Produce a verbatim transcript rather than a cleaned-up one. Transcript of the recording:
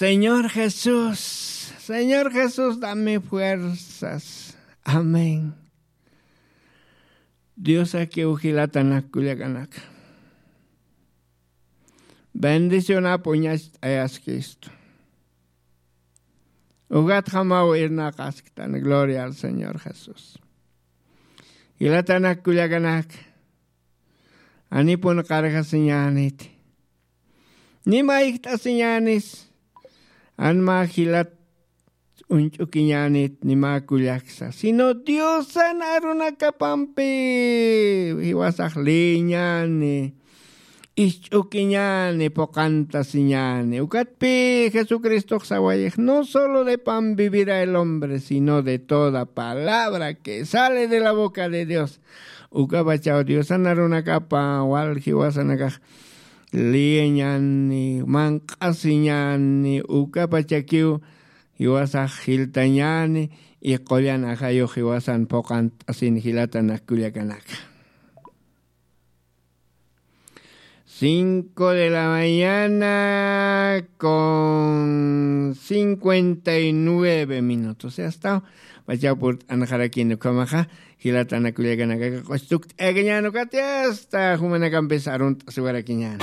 Señor Jesús, Señor Jesús, dame fuerzas. Amén. Dios, akiw jilatanak kullakanaka, bendicionapuñacht'ayaskistu. Ugatjamaw irnaqasktan. Gloria al Señor Jesús. Jilatanak kullakanaka, anipun qarjasiñäniti, nima ijt'asiñänis. Anma jilat uñch'ukiñänit nima kullaksa, sino Diosan arunakapampi jiwasax liyiñäni, isch'ukiñäni, puqantasiñäni. Ukatpi Jesucristox sawayix: "No solo de pan vivirá el hombre, sino de toda palabra que sale de la boca de Dios". Ukapachaw Diosan arunakapa wal jiwasanakax liyiñäni, manq'asiñäni, ukapachakiw jiwasax jiltañäni, y qullan ajayux jiwasan puqant'asin jilatanak kullakanaka. Cinco de la mañana con cincuenta y nueve minutos. Ya está. Pachaw purt'anxarakin ukhamaxa, jilatanak kullakanaka, q'ustukt'ayakañän ukati, hasta jumanakampis arunt'asiwarakiñän.